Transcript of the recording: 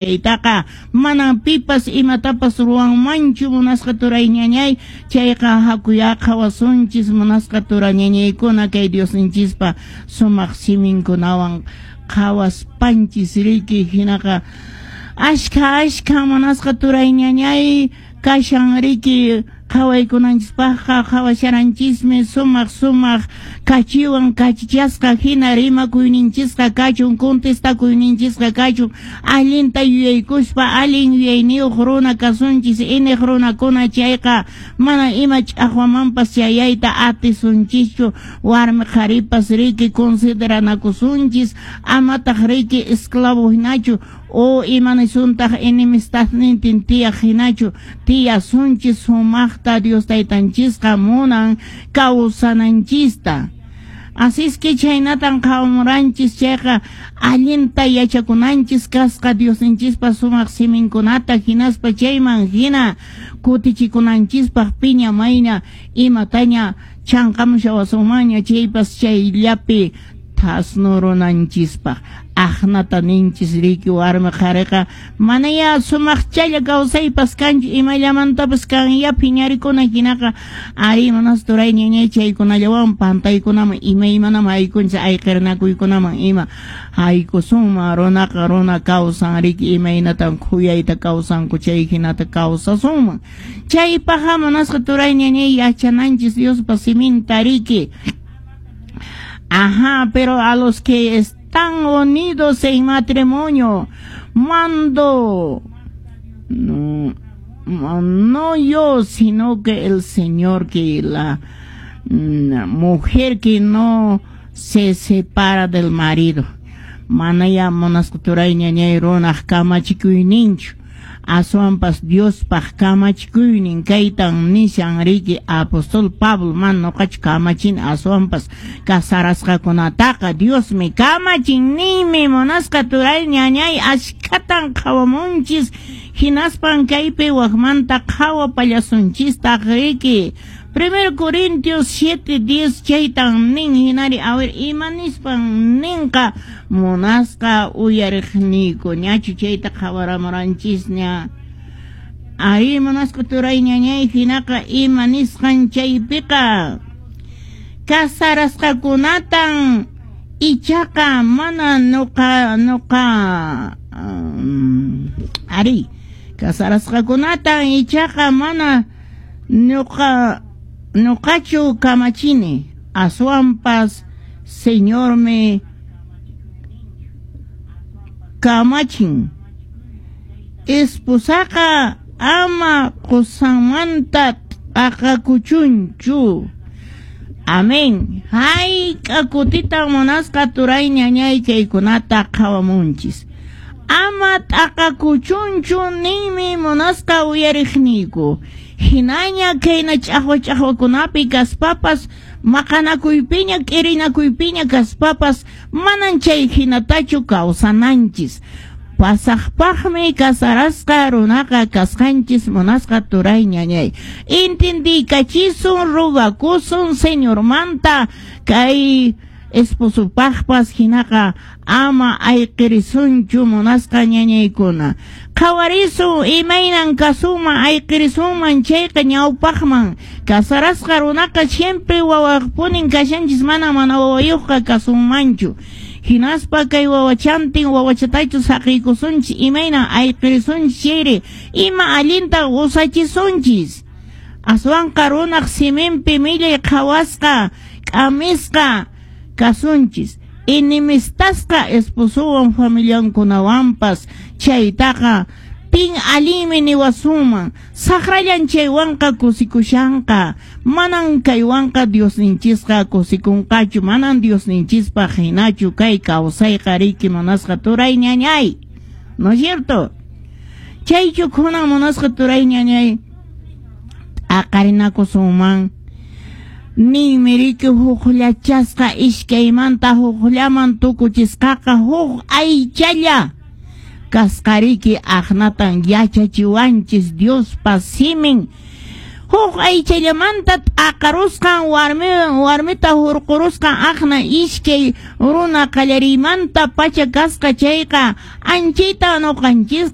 Chaytaqa manan pipas imatapas ruwanmanchu, munasqa turay ñañay. Chayqa hakuyá qhawasunchis, munasqa tura ñañaykuna, kay Diosninchispa sumaq siminkunawan qhawaspanchis riki. Hinaqa ashkha ashkha munasqa turay ñañay kashan riki qhawaykunanchispaqqa, qhawasharanchismi sumaq sumaq kachiwan kachichasqa hina rimakuyninchisqa kachun, contestakuyninchisqa kachun, allinta yuyaykuspa allin yuyayniyuq runa kasunchis, iniq runakuna, chayqa mana ima ch'aqwamanpas chayayta atisunchischu. Warmi qharipas riki consideranakusunchis, amataq riki esclavo hinachu o imanisuntaq enemistadnintin tiyaq hinachu tiyasunchis. Sumaqta Dios taytanchisqa munan kawsananchista. Así es que chhaynatan qhawamuranchis, chayqa allinta yachakunanchis kasqa Diosninchispa sumaq siminkunata, hinaspa chayman hina kutichikunanchispaq piña mayna imataña chanqamushawasunmanña chaypas chayllapi thasnurunanchispaq. Aqnata ninchis riki, warmi qhariqa manayá sumaqchalla kawsaypas kanchu, imallamantapas kanya phiñarikuna. Hinaqa ari, munasqa turay ñañay, chaykunallawan pantaykunaman imaymanaman haykunchis, ayqirinakuykunaman ima haykusunman. Runaqa runa kawsan riki, imaynatan khuyayta kawsanku chay hinata kawsasunman. Chaypaqqa, munasqa turay ñañay, yachananchis Diospa siminta riki. Ajá, pero a los que están unidos en matrimonio, mando, no, no yo, sino que el Señor, que la mujer que no se separa del marido. Manaya munasqa turay ñañay runaq kamachikuyninchu, aswanpas Diospaq kamachikuynin kaytan nishan riki apóstol Pablo: man noqachu kamachin, aswanpas casarasqakunataqa Diosmi kamachin ninmi. Munasqa turay ñañay, ashkhatan qhawamunchis, hinaspan kaypi wakmanta qhawapallasunchistaq riki. 1 Corintios 7:10 chaytan nin. Hinari, a ver, ima nispan ninqa, munasqa uyariqniyku? Ñachu chayta qhawaramuranchisña? Ari, munasqa turay ñañay, hinaqa ima nisqan chaypiqa? Casarasqakunatan ichaqa mana nuqa ari, casarasqakunatan ichaqa mana nuqachu kamachini, aswanpas Señormi kamachin: esposaqa ama qusanmanta t'aqakuchunchu. Amén. Hayk'a kutitan, munasqa turay ñañay, kaykunata qhawamunchis? Ama t'aqakuchunchu ninmi, munasqa uyariqniyku. Hinaña kayna ch'aqwa ch'aqwakunapi kaspapas, maqanakuypiña k'irinakuypiña kaspapas, manan chay hinatachu kawsananchis. Pasaqpaqmi casarasqa runaqa kasqanchis, munasqa turay ñañay. Entendiykachisun, rogakusun Señormanta kay esposopaqpas, hinaqa ama ayqirisunchu, munasqa ñañaykuna. Qhawarisun imaynan kasunman ayqirisunman chayqa ñawpaqman. Casarasqa runaqa siempre wawaqpunin kashanchis, mana mana wawayuqqa kasunmanchu. Hinaspa kay wawachantin wawachatachu saqiykusunchis, imaynan ayqirisunchis chayri, ima allinta usachisunchis? Aswanqa runaq siminpi millay qhawasqa, k'amisqa kasunchis, enemistasqa esposowan familiankunawanpas. Chaytaqa pin allinmi niwasunman? Saqrallan chaywanqa kusikushanqa. Manan kaywanqa Diosninchisqa kusikunqachu, manan Diosninchispaq hinachu kay kawsayqa riki, munasqa turay ñañay, ¿no es cierto? Chaychu kunan, munasqa turay ñañay, t'aqarinakusunman? Ninmi riki: hukllachasqa iskaymanta hukllaman tukuchisqaqa huk aychalla kasqariki. Aqnatan yachachiwanchis Diospa simin. Huk aychallamanta t'aqarusqan warmita hurqurusqan aqna iskay runa qallariymanta pacha kasqa chayqa anchita ñuqanchisqa.